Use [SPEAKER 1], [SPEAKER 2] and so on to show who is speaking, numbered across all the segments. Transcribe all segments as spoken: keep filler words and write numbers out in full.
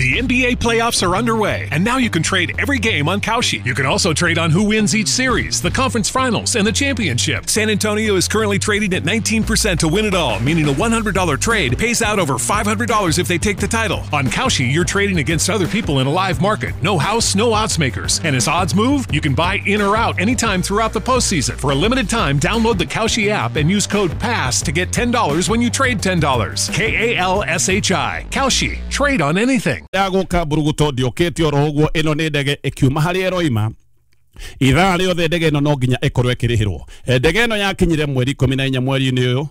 [SPEAKER 1] The N B A playoffs are underway, and now you can trade every game on Kalshi. You can also trade on who wins each series, the conference finals, and the championship. San Antonio is currently trading at nineteen percent to win it all, meaning a one hundred dollar trade pays out over five hundred dollars if they take the title. On Kalshi, you're trading against other people in a live market. No house, no odds makers. And as odds move, you can buy in or out anytime throughout the postseason. For a limited time, download the Kalshi app and use code PASS to get ten dollars when you trade ten dollars. K A L S H I. Kalshi. Trade on anything.
[SPEAKER 2] Yagoka buruguto ndiokete oro uguo ino ni ndege ikiuma haria ĩroima ithaa rĩothe ndege ĩno no nginya ĩkorwo ĩkĩrĩhĩrwo. Ndege ĩno yakinyire mweri ikũmi na inya mweri-inĩ ũyũ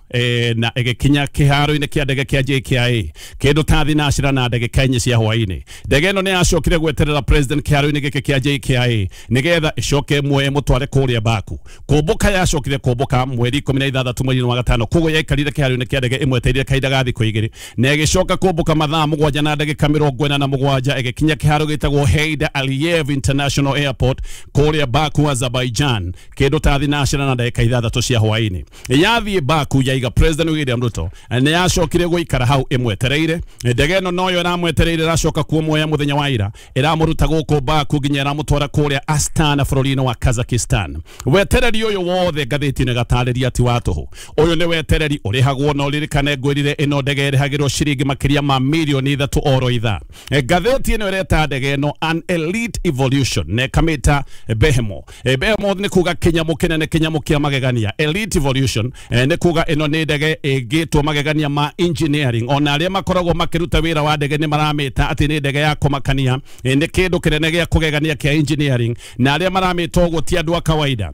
[SPEAKER 2] na ĩgĩkinya kĩharo-inĩ kĩa ndege kĩa J K I A kĩndũ ta thinacira na ndagĩka inya cia hwaĩ-inĩ. Ndege ĩno nĩ yacokire gweterera president kĩharo-inĩ gĩkĩ kĩa J K I A nĩgetha ĩcoke ĩmuoye ĩmũtware kũrĩa Baku. Kũmbũka yacokire kũmbũka mweri ikũmi na ithathatũ mweri-inĩ wa gatano, koguo yaikarire kĩharo-inĩ kĩa ndege ĩmwetereire kahinda ga thikũ igĩrĩ na ĩgĩcoka kũmbũka mathaa mũgwanja na ndagĩka mĩrongo ĩna na mũgwanja ĩgĩkinya kĩharo gĩtagwo Heydar Aliyev International Airport kũrĩa Baku, Azerbaijan, kĩndũ ta thinacira na ndagĩka ithathatũ cia hwaĩ-inĩ. Yathiĩ Baku yaiga President William Ruto nĩ yacokire gũikara hau ĩmwetereire. Ndege ĩno noyo ĩramwetereire ĩracoka kumuoya mũthenya wa ira, ĩramũruta gũkũ Baku nginya ĩramũtwara kũrĩa Astana bũrũri-inĩ wa Kazakhstan. Wetereri ũyũ wothe ngathĩti-inĩ ĩgatarĩria ti wa tũhũ. Ũyũ nĩ wetereri ũrĩhagwo na ũririkane ngwĩrire ĩno ndege ĩrĩhagĩrwo ciringi makĩria ma mirioni ithatũ oro ithaa. Ngathĩti ĩno ĩreta ndege ĩno an elite evolution na ĩkamĩta Behemoth. Behemoth nĩ kuga kĩnyamũ kĩnene, kĩnyamũ kĩa magegania. Elite evolution nĩ kuga ĩno nĩ ndege ĩngĩtwo magegania ma engineering. Ona arĩa makoragwo makĩruta wĩra wa ndege nĩ maramĩta atĩ nĩ ndege ya kũmakania, nĩ kĩndũ kĩnene gĩa kũgegania kĩa engineering, na arĩa maramĩta ũguo ti andũ a kawaida.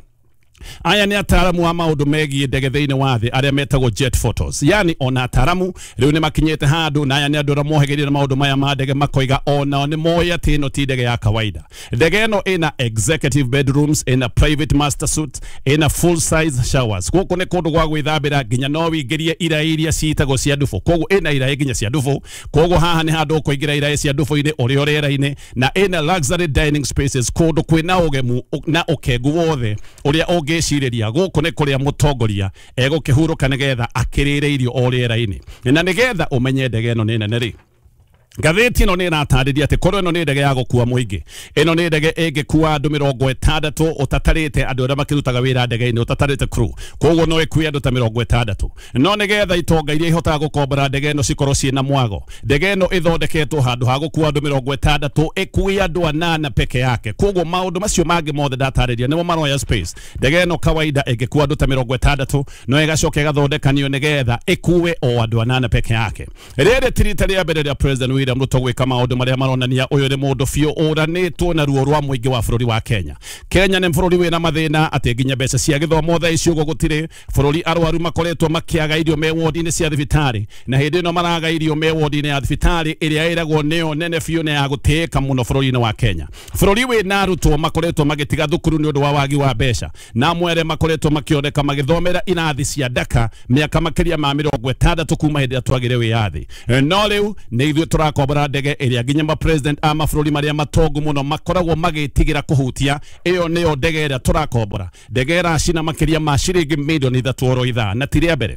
[SPEAKER 2] Aya nĩ ataaramu a maũndũ megiĩ ndege thĩinĩ wa thĩ arĩa metagwo jet photos. Yani ona ataaramu rĩu nĩ makinyĩte handũ, na aya nĩ andũ arĩa mohĩgĩrĩire maũndũ maya ma ndege makoiga onao nĩ moĩ atĩ ĩno ti ndege ya kawaida. Ndege ĩno ĩna executive bedrooms, ĩna private master suite, ĩna full size showers. Gũkũ nĩ kũndũ gwa gwĩthambĩra nginya no wĩingĩrie iraĩ iria ciĩtagwo cia ndubũ. Koguo ĩna iraĩ nginya cia ndubũ. Koguo haha nĩ handũ ũkũingĩra iraĩ cia ndubũ-inĩ ũrĩ o rĩera-inĩ, na ĩna luxury dining spaces, kũndũ kwĩna ũgemu na ũkengu wothe ũrĩa ũngĩcirĩria. Gũkũ nĩ kũrĩa mũtongoria egũkĩhurũka nĩgetha akĩrĩre irio o rĩera-inĩ. Na nĩgetha ũmenye ndege ĩno nĩ nene rĩ, ngathĩti ĩno nĩ ĩratarĩria atĩ korwo ĩno nĩ ndege ya gũkua mũingĩ, ĩno nĩ ndege ĩngĩkua andũ mĩrongo ĩtandatũ ũtatarĩte andũ arĩa makĩrutaga wĩra ndege-inĩ, ũtatarĩte crew, koguo no ĩkue andũ ta mĩrongo ĩtandatũ. No nĩgetha itonga iria ihotaga gũkombora ndege ĩno cikorwo ciĩna mwago, ndege ĩno ĩthondeketwo handũ ha gũkua andũ mĩrongo ĩtandatũ ĩkue andũ anana peke yake. Koguo maũndũ macio mangĩ mothe ndatarĩria nĩmo maroya space. Ndege ĩno kawaida ĩngĩkua andũ ta mĩrongo ĩtandatũ no ĩgacoka ĩgathondekanio nĩgetha ĩkue o andũ anana peke yake. Rĩrĩ ti rita rĩa mbere rĩa President William Ruto gwĩka maũndũ marĩa maronania ũyũ nĩ mũndũ biũ ũranĩtwo na ruo rwa mũingĩ wa bũrũri wa Kenya. Kenya nĩ bũrũri wĩna mathĩna atĩ nginya mbeca cia gĩthomo thaa ici ũguo gũtirĩ. Bũrũri arwaru makoretwo makĩaga irio me wodi-inĩ cia thibitarĩ, na hĩndĩ ĩno maraga irio me wodi-inĩ ya thibitarĩ ĩrĩa ĩragwo nĩyo nene biũ na ya gũtĩĩka mũno bũrũri-inĩ wa Kenya. Bũrũri wĩna arutwo makoretwo magĩtiga thukuru nĩ ũndũ wa wagi wa mbeca, na amwe arĩa makoretwo makĩoneka magĩthomera irathi cia ndaka mĩaka makĩria ma mĩrongo ĩtandatũ kuma hĩndĩ ĩrĩa twagire wĩyathi. No rĩu nĩ ithuĩ tũrakombora ndege ĩrĩa nginya ma president a mabũrũri marĩa matongu mũno makoragwo magĩtigĩra kũhutia. Ĩyo nĩyo ndege ĩrĩa tũrakombora, ndege ĩracina makĩria ma ciringi mirioni ithatũ oro ithaa, na ti rĩa mbere.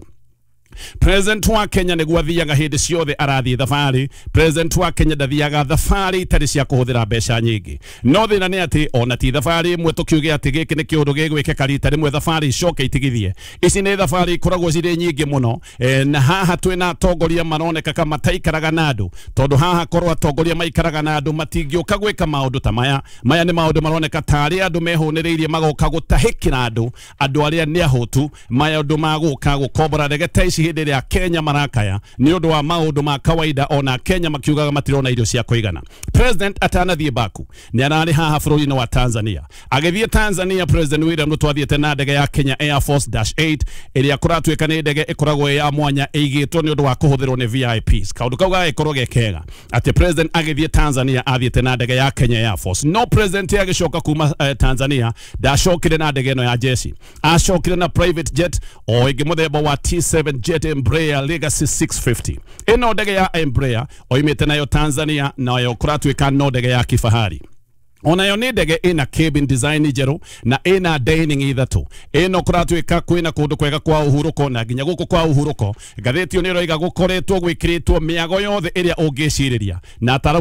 [SPEAKER 2] President wa Kenya nĩguo athiaga hĩndĩ ciothe arathiĩ thabarĩ. President wa Kenya ndathiaga thabarĩ itarĩ cia kũhũthĩra mbeca nyingĩ. No thĩna nĩ atĩ ona ti thabarĩ ĩmwe tũkiuge atĩ gĩkĩ nĩ kĩũndũ gĩgwĩkĩka rita rĩmwe thabarĩ icoke itigithie. Ici nĩ thabarĩ ikoragwo cirĩ nyingĩ mũno, e, na haha twĩna atongoria maroneka ka mataikaraga na andũ, tondũ haha korwo atongoria maikaraga na andũ matingĩũka gwĩka maũndũ ta maya. Maya nĩ maũndũ maroneka tarĩ andũ mehũnĩrĩirie magoka gũtahĩkĩra andũ, andũ arĩa nĩ ahũtu, maũndũ ma gũka gũkombora ndege ta ici hĩndĩ ĩrĩa Kenya marakaya nĩ ũndũ wa maũndũ ma kawaida, ona Kenya makiugaga matirona irio cia kũigana. President atanathiĩ Baku nĩ ararĩ haha bũrũri-inĩ wa Tanzania. Agĩthiĩ Tanzania, President William Ruto athiĩte na ndege ya Kenya Air Force dash eight ĩrĩa kũratuĩka nĩ ndege ĩkoragwo ĩ ya mwanya ĩigĩtwo nĩ ũndũ wa kũhũthĩrwo nĩ V I Ps. Kaũndũ kau gagĩkorwo ge kega atĩ President agĩthiĩ Tanzania athiĩte na ndege ya Kenya Air Force. No President agĩcoka kuma eh, Tanzania ndacokire na ndege ĩno ya jeshi, acokire na private jet o ĩngĩ mũthemba wa T seven Jet Embraer Legacy six fifty. Ĩno ndege ya Embraer oimĩte nayo Tanzania, nayo kũratuĩka no ndege ya kifahari. Onayo nĩ ndege ĩna cabin design njerũ na ĩna dining ithatũ. Ĩno kũratuĩka kwĩna kũndũ kwega kwa ũhurũko, na nginya gũkũ kwa ũhurũko ngathĩti ĩyo nĩ ĩroiga gũkoretwo gwĩkĩrĩtwo mĩago yothe ĩrĩa ũngĩcirĩria, na ataramu